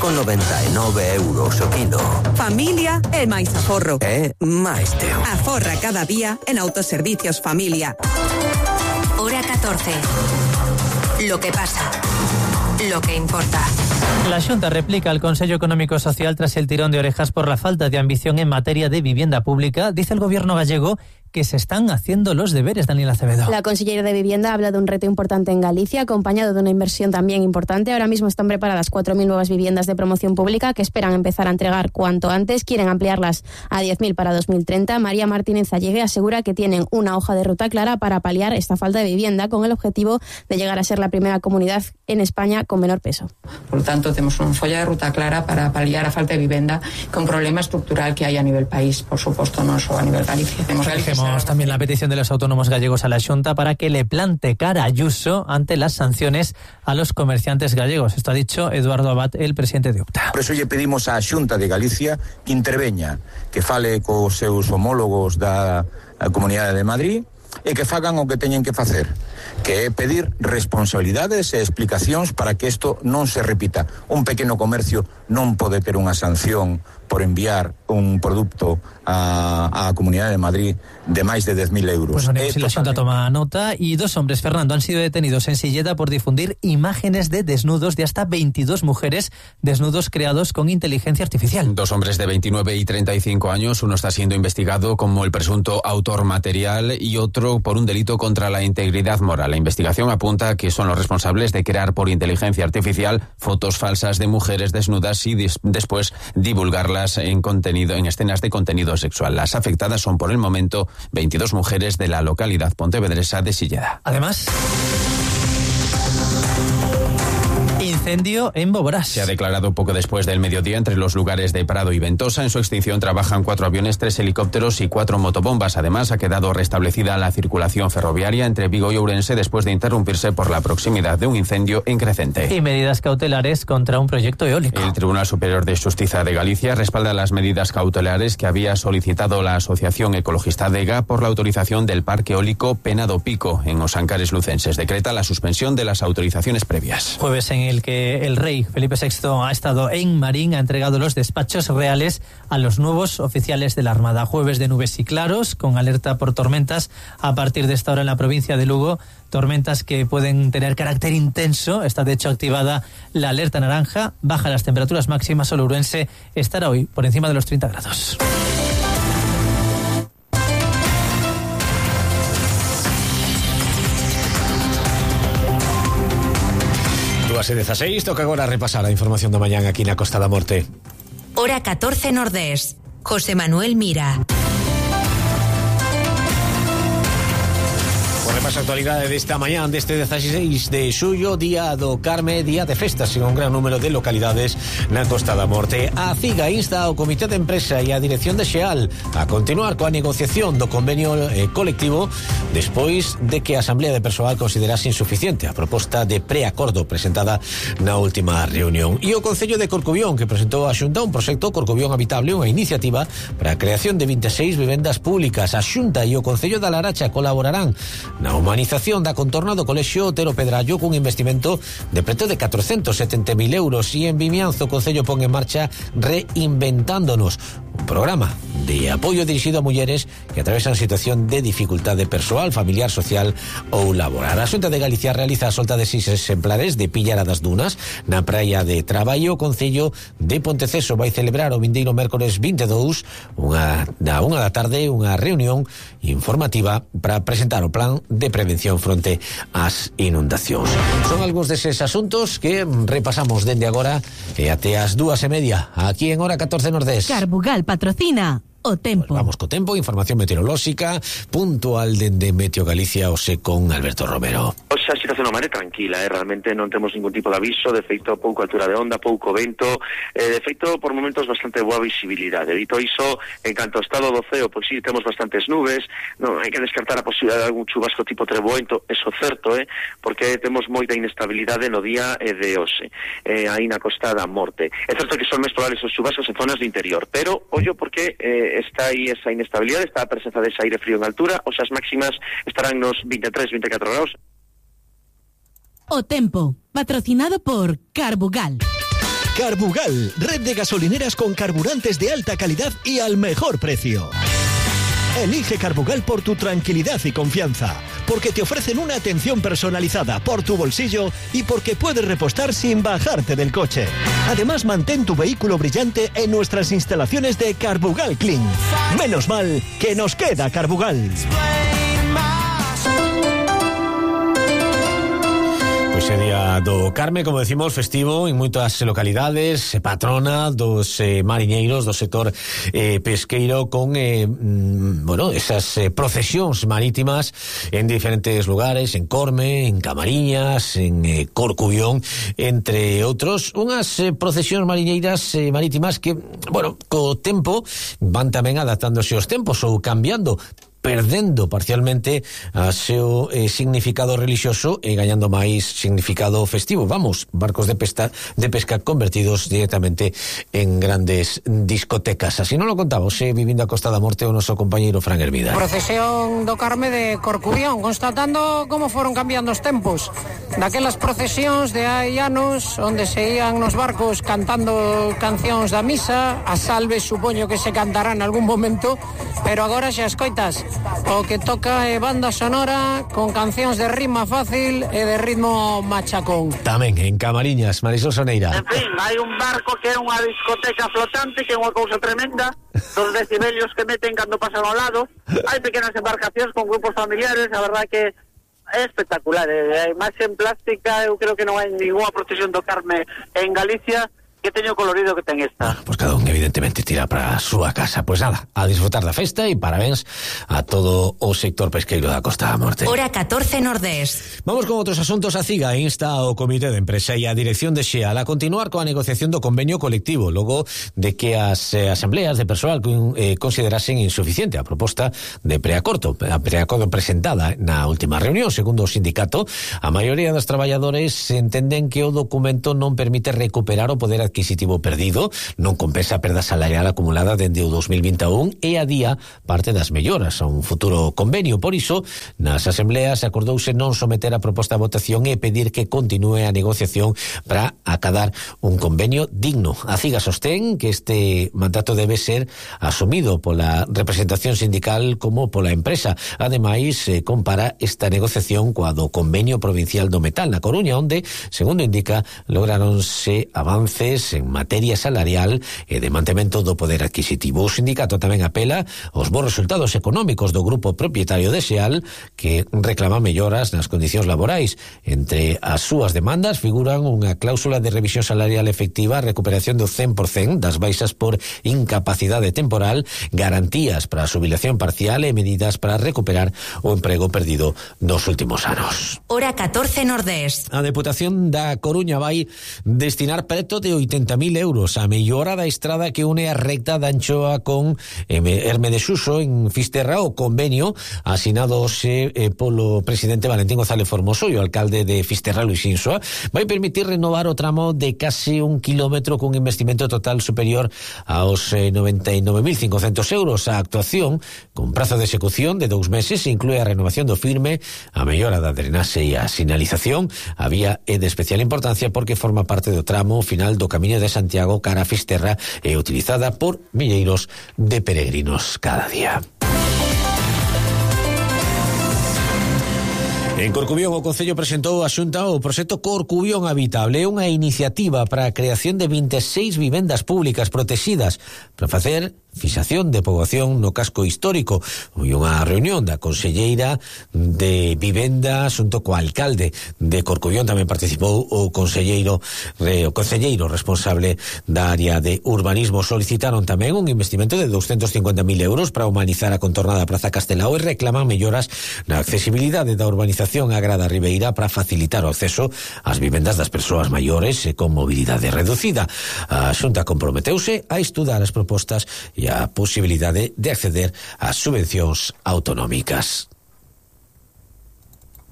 €2,99 o kilo. Familia e máis aforro. Máis teo. Aforra cada día en Autoservicios Familia. Hora 14. Lo que pasa. Lo que importa. La Xunta replica al Consello Económico Social tras el tirón de orejas por la falta de ambición en materia de vivienda pública. Dice el gobierno gallego que se están haciendo los deberes, Daniela Acevedo. La consellera de Vivienda habla de un reto importante en Galicia, acompañado de una inversión también importante. Ahora mismo están preparadas 4.000 nuevas viviendas de promoción pública que esperan empezar a entregar cuanto antes. Quieren ampliarlas a 10.000 para 2030. María Martínez Allegue asegura que tienen una hoja de ruta clara para paliar esta falta de vivienda, con el objetivo de llegar a ser la primera comunidad en España con menor peso. Por lo tanto, tenemos una folla de ruta clara para paliar a falta de vivienda, con un problema estructural que hay a nivel país, por supuesto, no solo a nivel Galicia. Dejemos también la petición de los autónomos gallegos a la Xunta para que le plante cara a Ayuso ante las sanciones a los comerciantes gallegos. Esto ha dicho Eduardo Abad, el presidente de UPTA. Por eso lle pedimos á Xunta de Galicia que interveña, que fale cos seus homólogos da Comunidade de Madrid e que fagan o que teñen que facer, que é pedir responsabilidades e explicacións para que isto non se repita. Un pequeno comercio non pode ter unha sanción por enviar un produto a Comunidade de Madrid de máis de 10.000 euros. Pues veremos si la Xunta toma nota. Y 2 hombres, Fernando, han sido detenidos en Silleda por difundir imágenes de desnudos de hasta 22 mujeres, desnudos creados con inteligencia artificial. 2 hombres de 29 y 35 años, uno está siendo investigado como el presunto autor material y otro por un delito contra la integridad moral. La investigación apunta a que son los responsables de crear por inteligencia artificial fotos falsas de mujeres desnudas y después divulgarlas en escenas de contenido sexual. Las afectadas son por el momento 22 mujeres de la localidad pontevedresa de Silleda. Además, incendio en Boborás. Se ha declarado poco después del mediodía entre los lugares de Prado y Ventosa. En su extinción trabajan 4 aviones, 3 helicópteros y 4 motobombas. Además, ha quedado restablecida la circulación ferroviaria entre Vigo y Ourense después de interrumpirse por la proximidad de un incendio en Crecente. Y medidas cautelares contra un proyecto eólico. El Tribunal Superior de Xustiza de Galicia respalda las medidas cautelares que había solicitado la Asociación Ecologista DEGA por la autorización del parque eólico Pena do Pico en Os Ancares lucenses. Decreta la suspensión de las autorizaciones previas. Jueves en el que el rey Felipe VI ha estado en Marín, ha entregado los despachos reales a los nuevos oficiales de la Armada. Jueves de nubes y claros, con alerta por tormentas a partir de esta hora en la provincia de Lugo. Tormentas que pueden tener carácter intenso. Está de hecho activada la alerta naranja. Baja las temperaturas máximas. Solo Ourense estará hoy por encima de los 30 grados. Hace 16, toca agora repasar a información da mañán aquí na Costa da Morte. Hora 14 Nordés. José Manuel Mira. Repaso a actualidade desta mañán deste 16 de xullo, día do Carme, día de festas en un gran número de localidades na Costa da Morte. A CIGA insta ao Comité de Empresa e a Dirección de Xeal a continuar coa negociación do convenio colectivo despois de que a Asamblea de Persoal considerase insuficiente a proposta de preacordo presentada na última reunión. E o Concello de Corcubión, que presentou a Xunta un proxecto Corcubión Habitable, unha iniciativa para a creación de 26 vivendas públicas. A Xunta e o Concello da Laracha colaborarán na humanización da contorna do Colexio Otero Pedrallo cun investimento de preto de 470.000 euros. E en Vimianzo o Concello pon en marcha Reinventándonos, un programa de apoio dirixido a mulleres que atravesan situación de dificultade persoal, familiar, social ou laboral. A Xunta de Galicia realiza a solta de 6 exemplares de Pillara das Dunas na praia de Traballo. O Concello de Ponteceso vai celebrar o vindeiro mércores 22 da 1 da tarde unha reunión informativa para presentar o plan de prevención fronte ás inundacións. Son algúns deses asuntos que repasamos dende agora e até as 2:30 aquí en Hora 14 Nordés. Carbugal patrocina o tempo. Vamos co tempo, información meteorolóxica puntual dende Meteo Galicia, ose con Alberto Romero. Oxe, a situación non é tranquila, realmente non temos ningún tipo de aviso, de feito pouco altura de onda, pouco vento, de feito por momentos bastante boa visibilidade. Dito iso, en canto ao estado do ceo, pois sí, temos bastantes nubes, non hai que descartar a posibilidade de algún chubasco tipo treboento, eso certo, porque temos moita inestabilidade no día de hoxe, aí na Costa da Morte. É certo que son máis probables os chubascos en zonas do interior, pero ollo porque está aí esa inestabilidade, está a presenza dese aire frío en altura, ou as máximas estarán nos 23-24 graus. O tempo, patrocinado por Carbugal. Carbugal, red de gasolineras con carburantes de alta calidad y al mejor precio. Elige Carbugal por tu tranquilidad y confianza, porque te ofrecen una atención personalizada por tu bolsillo y porque puedes repostar sin bajarte del coche. Además, mantén tu vehículo brillante en nuestras instalaciones de Carbugal Clean. Menos mal que nos queda Carbugal. Pois é día do Carme, como decimos, festivo en moitas localidades, patrona dos mariñeiros do sector pesqueiro con esas procesións marítimas en diferentes lugares, en Corme, en Camariñas, en Corcubión, entre outros, unhas procesións mariñeiras marítimas que, co tempo van tamén adaptándose aos tempos ou cambiando, perdendo parcialmente a seu significado religioso e gañando máis significado festivo. Vamos, barcos de pesca convertidos directamente en grandes discotecas. Así non lo contamos, vivindo a Costa da Morte, o noso compañeiro Fran Hermida. Procesión do Carme de Corcubión, constatando como foron cambiando os tempos. Daquelas procesións de hai anos, onde se ían nos barcos cantando cancións da misa, as salves supoño que se cantarán en algún momento, pero agora xa escoitas. O que toca é banda sonora con cancións de rima fácil e de ritmo machacón. Tamén en Camariñas, Marisol Soneira. En fin, hai un barco que é unha discoteca flotante, que é unha cousa tremenda, dos decibelios que meten cando pasan ao lado. Hai pequenas embarcacións con grupos familiares, a verdade que é espectacular. A imaxe en plástica, eu creo que non hai ninguna procesión do Carme en Galicia que teño colorido que ten esta. Pois cada un evidentemente tira para a súa casa. Pois nada, a disfrutar da festa e parabéns a todo o sector pesqueiro da Costa da Morte. Hora 14 Nordés. Vamos con outros asuntos. A CIGA insta ao Comité de Empresa e a Dirección de XEAL a continuar coa negociación do convenio colectivo, logo de que as asambleas de persoal considerasen insuficiente a proposta de preacordo presentada na última reunión. Segundo o sindicato, a maioría dos traballadores entenden que o documento non permite recuperar o poder adquisitivo perdido, non compensa a perda salarial acumulada dende o 2021 e adía parte das melloras a un futuro convenio. Por iso, nas asambleas acordouse non someter a proposta a votación e pedir que continúe a negociación para acadar un convenio digno. A CIGA sostén que este mandato debe ser asumido pola representación sindical como pola empresa. Ademais, compara esta negociación coa do convenio provincial do metal na Coruña, onde, segundo indica, lograronse avances en materia salarial e de mantemento do poder adquisitivo. O sindicato tamén apela aos bons resultados económicos do grupo propietario de XEAL, que reclama melloras nas condicións laborais. Entre as súas demandas figuran unha cláusula de revisión salarial efectiva, recuperación do 100% das baixas por incapacidade temporal, garantías para a xubilación parcial e medidas para recuperar o emprego perdido nos últimos anos. Hora 14 Nordés. A Deputación da Coruña vai destinar preto de 80.000 euros a mellora da estrada que une a recta da Anchoa con Herme de Suso en Fisterra. O convenio asinado polo presidente Valentín González Formoso e o alcalde de Fisterra, Luis Insua, vai permitir renovar o tramo de case 1 kilómetro cun investimento total superior aos 99.500 euros. A actuación, con prazo de execución de 2 meses, inclúe a renovación do firme, a mellora da drenaxe e a sinalización. A vía é de especial importancia porque forma parte do tramo final do Camiño de Santiago cara a Fisterra e utilizada por milleiros de peregrinos cada día. En Corcubión, o Concello presentou a Xunta o proxecto Corcubión Habitable, unha iniciativa para a creación de 26 vivendas públicas protegidas para facer fixación de poboación no casco histórico. Foi unha reunión da conselleira de Vivenda xunto co alcalde de Corcubión. Tamén participou o conselleiro responsable da área de urbanismo. Solicitaron tamén un investimento de 250.000 euros para humanizar a contorna da Praza Castelao e reclaman melloras na accesibilidade da urbanización Agrada Ribeira para facilitar o acceso ás vivendas das persoas maiores e con mobilidade reducida. A Xunta comprometeuse a estudar as propostas e a posibilidade de acceder ás subvencións autonómicas.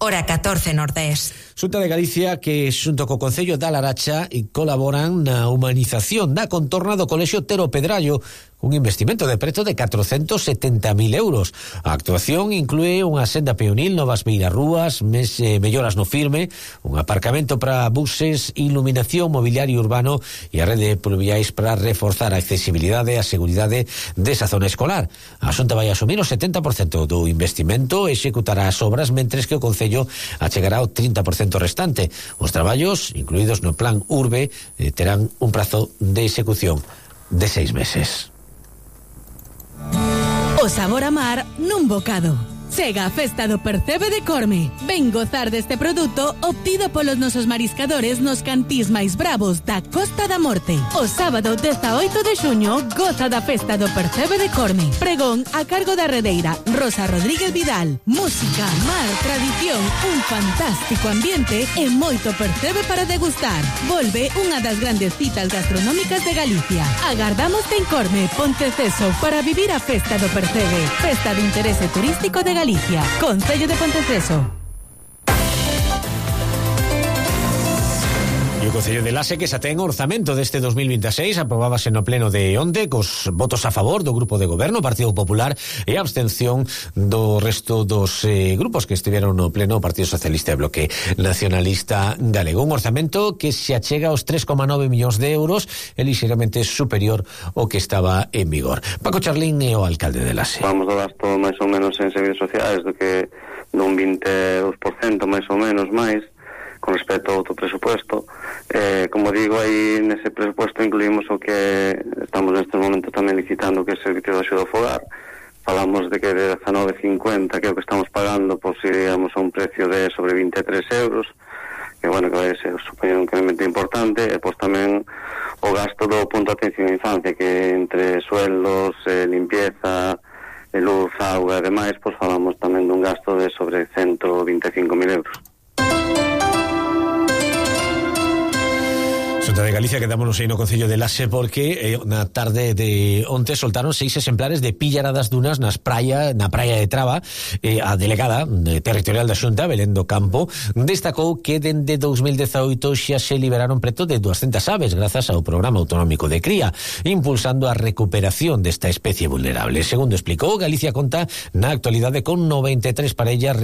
Hora 14 Nordés. Xunta de Galicia que xunto co Concello da Laracha colaboran na humanización da contorna do Colexio Tero Pedrallo, un investimento de preto de 470.000 euros. A actuación inclúe unha senda peonil, novas beirarrúas, melloras no firme, un aparcamento para buses, iluminación, mobiliario urbano e a rede de pluviais para reforzar a accesibilidade e a seguridade desa zona escolar. A Xunta vai asumir o 70% do investimento e executará as obras, mentres que o Concello achegará o 30% restante. Os traballos, incluídos no Plan Urbe, terán un prazo de execución de 6 meses. O sabor a mar nun bocado. Chega a Festa do Percebe de Corme. Ven gozar deste produto obtido polos nosos mariscadores nos cantís máis bravos da Costa da Morte. O sábado 18 de xuño goza da Festa do Percebe de Corme. Pregón a cargo da redeira Rosa Rodríguez Vidal. Música, mar, tradición, un fantástico ambiente e moito percebe para degustar. Volve unha das grandes citas gastronómicas de Galicia. Agardámoste en Corme, Ponteceso, para vivir a Festa do Percebe. Festa de interese turístico de Galicia, Concello de Ponteceso. E o Concello de Lase que xa ten o orzamento deste 2026 aprobábase no pleno de onte cos votos a favor do Grupo de Goberno, Partido Popular, e a abstención do resto dos grupos que estiveron no pleno, Partido Socialista e Bloque Nacionalista Galego. Un orzamento que se achega aos 3,9 millóns de euros, e lixeiramente superior ao que estaba en vigor. Paco Charlín é o alcalde de Lase. Vamos do gasto máis ou menos en servicios sociais do que dun 22% máis ou menos máis con respecto ao outro presupuesto. Como digo, aí nese presupuesto incluímos o que estamos nestes momentos tamén licitando, que é o servicio de axuda ao fogar. Falamos de que de 19,50 que é o que estamos pagando, pois iríamos a un precio de sobre 23 euros, que bueno, que vai ser supoñer un incremento importante, e pois tamén o gasto do punto de atención á infancia, que entre sueldos, limpieza, luz, auga e demais, pois falamos tamén dun gasto de sobre 125.000 euros. Xunta de Galicia, quedámonos aí no Concello de Lase porque na tarde de onte soltaron 6 exemplares de píllara das dunas na praia de Traba. A delegada territorial da Xunta, Belén do Campo, destacou que dende 2018 xa se liberaron preto de 200 aves grazas ao Programa Autonómico de Cría, impulsando a recuperación desta especie vulnerable. Segundo explicou, Galicia conta na actualidade con 93 parellas